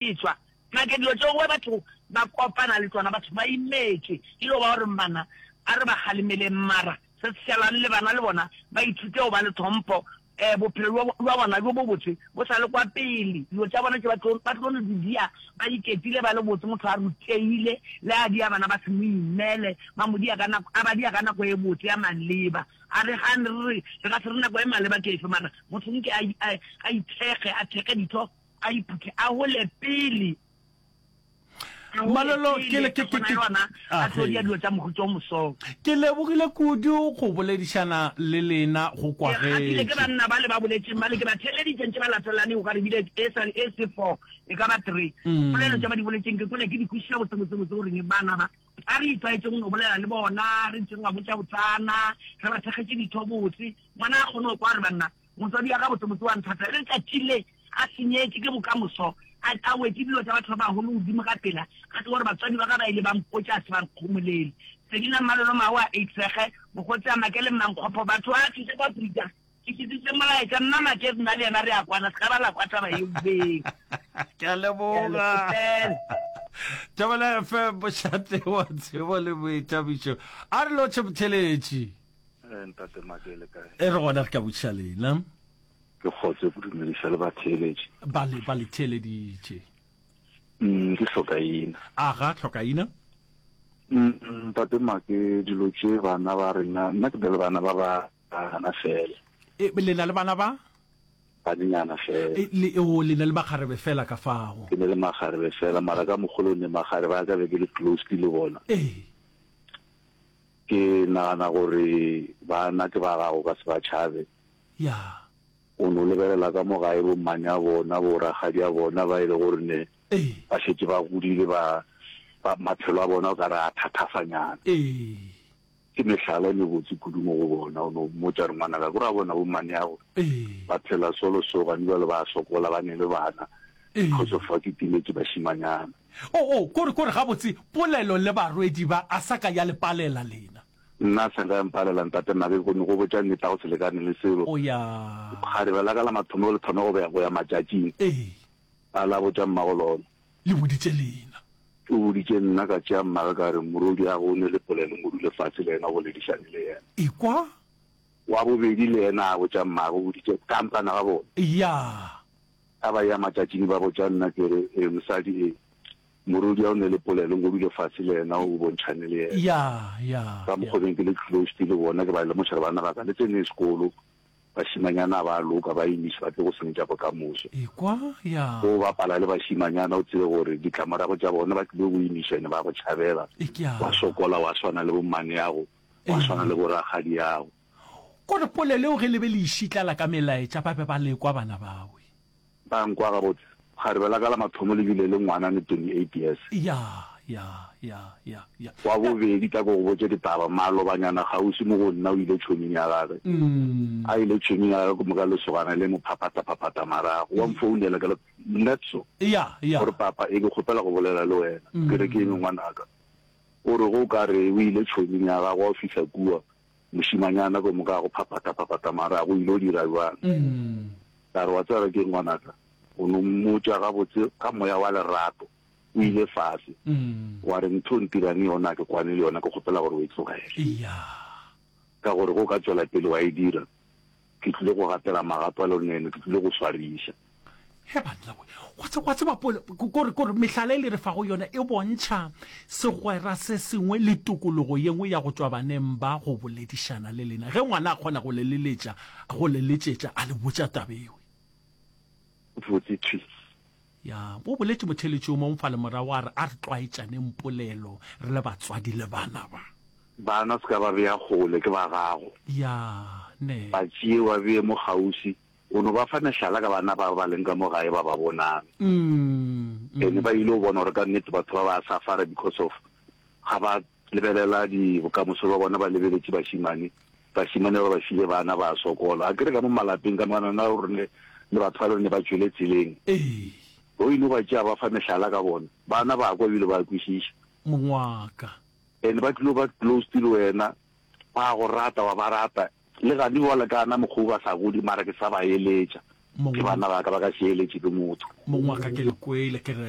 Etšwa nake dilo tšeo batho ba kopana le tšona, batho ba imetšwe e no ba gore bana a re ba kgalemeleng mara se se šalang le bana le bona ba ithute go ba le tlhompho um bophelo bja bona bjo bobotse bo sa le kwa pele. Dilo tša bona tše ba tlo ba tlo no di dia ba iketile ba le botse, motho a rutegile le a dia bana ba se mo imele ba mo dia ka nako a ba dia ka nako e botse ya maleba. A re gane re re re ka se re nako e maleba ke efe mara motho nke a a ithekge a thekge ditho a iphuthe a gole pele a gole Malolo, ke pele le- ke- a ke- kgona ke- le gona a tlo Age. dia dilo tša mohuta o mosong. Ke lebogile kudu go boledišana le lena go Ke kgahlile ke kwagetše. banna bale ba boletšeng bale ke ba theeleditše ntše ba latelane o ka re bile e sa e se four e ka ba three polelo tše ba di boletšeng ke kwele ke di kwešiša botse botse botse goreng bana ba a re itlwaetšeng go no bolela le bona re ntšeng ba botša botsana re ba thekgetše ditho botse ngwana a kgone go kwa gore banna Motswadi wa gabotsebotse wa nthata le letšatši le a senyetše ke bokamoso, a, a wetše dilo tša batho ba bagolo godimo ka pela, a tseba gore batswadi ba ka ba ile ba mpotša a se ba nkgomolele. Selina Mmalolo Maoa Eitsege, Mokgotsi a Make le Mmankgopho, batho ba thuše kwa Afrika. Ke tlišitše molaetša, nna Make nna le yena re a kwana, se ka ba la kwa taba yeo beng. Ke a Ke a le leboga. kgopela. Thobela FM, mošate wa tsebo le boithabišo. A re lotšhe motheletši. Eh, ntate Make le kae? E re gona re ka botšiša lena. Ke kgotse go dumediša le batheeletši. Ba le ba le theeleditše. Mm, ke hlokaina. Aga, hlokaina. Mm, ntate Make, dilo tše bana ba rena, nna ke na le bana ba bana fela. E, le na le bana ba? Banenyana fela. E, le, o, le na le makgarebe fela ka fao. Ke ne le makgarebe fela, mara ka mokgolo ne makgarebe a ka be ke le close le bona. Ee. Ke nagana gore bana ke ba gago, ka se ba tšhabe. Ya. O no lebelela ka mo gae bommane a bona, borakgadi a bona ba e le gore ne Ee. ba šetše ba godile ba, ba, maphelo a bona o ka re a thathafanyana. Ee. Ke mehlala e mebotse kudu mo go bona. O no mmotša re ngwanaka, ko ra bona bommaneago Ee. ba phela so le so, gane bjale ba sokola, ba ne le bana. Ee. Because of fa ke timetše bašimanyana. O, o, kore, kore gabotse, polelo le barwedi ba a sa ka ya le palela lena. Nna a sa nka ya mpalela, ntate Nna ke no go botša nnete, a go se lekane le selo. O ya. Kgarebe la ka la mathomo le thoma go be, go ya matšatšing. Ee. A la botša mmago lona. Le boditše lena. O boditše nna, ka tšea mmage ka re, Morwediago o ne le polelo, mo dule fase le yena o boledišane le yena. Ekwa. Wa bobedi le yena a botša mmage, o boditše kampana ga bona. Ya. A ba ya matšatšing ba botša nna ke re, E, mosadi, e, morwedi o ne le polelo, nko dule fase le yena o bontšhane le yena. Ya, ya, Ka ya. mokgwa beng ke le closed le bona, ke ba lemoša gore banna ba ka le tsene sekolo, bašimanyana ba loka, ba imiša, ba tlo go senyetša bokamoso. Ekwa, ya. O bapala le bašimanyana o tsebe gore ditlamorago tša bona ba tlile go imiša ene ba go tšhabela, Ekwa. wa sokola wa swana le bommaneago, wa swana le borakgadiago. Kore polelo eo ge le be le e šitlala ka melaetša ba be ba lekwa bana bawe. Ba nkwa gabotse. Kgarebe la ka la mathomo le bile le ngwana ne 28 years. Ya, ya, ya, ya, ya. Wa bobedi tla ko go botše ditaba, malobanyana kgauswi mo go nna o ile tšhoming ya gage. A ile tšhoming ya gage ke moka lesogana le mo phaphataphaphata marago. Wa mfounela ke le, Netso. Ya, ya. O re, Papa, e ke kgopela go bolela le wena. Ke re, Ke eng ngwanaka? O re, Ge o ka re o ile tšhoming ya gago wa fihla kua, Mošimanyana ko moka go phaphataphaphata marago, o ile o dira bjang? Ka re, Wa tseba re keng ngwanaka? O no mmotša gabotse ka moya wa lerato. O ile fase. Wa re, Ntho o ntirang yona ga ke kwane le yona, ke kgopela gore o e tlogele. Ka gore ge o ka tšwela pele wa e dira, Ke tlile go gatela magato a loneno, ke tlile go swariša. He banna we, wa tse, wa tseba pole, kore, kore mehlala e le re fago yona e bontšha segwera se sengwe le tokologo ye nngwe ya go tšwa baneng ba go boledišana le lena. Ge ngwana a kgona go le leletša, go le letšetša, a le botša taba ewe. Botse thwi. Ya, o boletše motheeletši yo mongwe fale morago a re, a re tlwaetšaneng polelo re le batswadi le bana ba. Bana se ka ba bea kgole, ke ba gago. Ya, ne. Ba tšee wa bee mo kgauswi. O no ba fa mehlala ka bana ba ba leng ka mo gae ba ba bonang. Ene ba ile go bona gore ka nnete batho ba ba safara because of ga ba lebelela di bokamoso ba bona ba lebeletše bašimane. Bašimane ba ba file bana ba sokola. Akere ka mo malapeng ka mo na gore ne le batho ba le gore ne ba tšwele tseleng. Ee. O ile ba tšea ba fa mehlala ka bona. Bana ba kwa ebile ba kwešiša. Mongwaka. And ba tlilo ba close le wena, ba go rata wa ba rata. Le gane bjale ka na mokgwa o ba sa godi mara ke sa ba eletša. Ke bana ba ka ba ka se eletše ke motho. Mong wa ka ke le kwele ke re.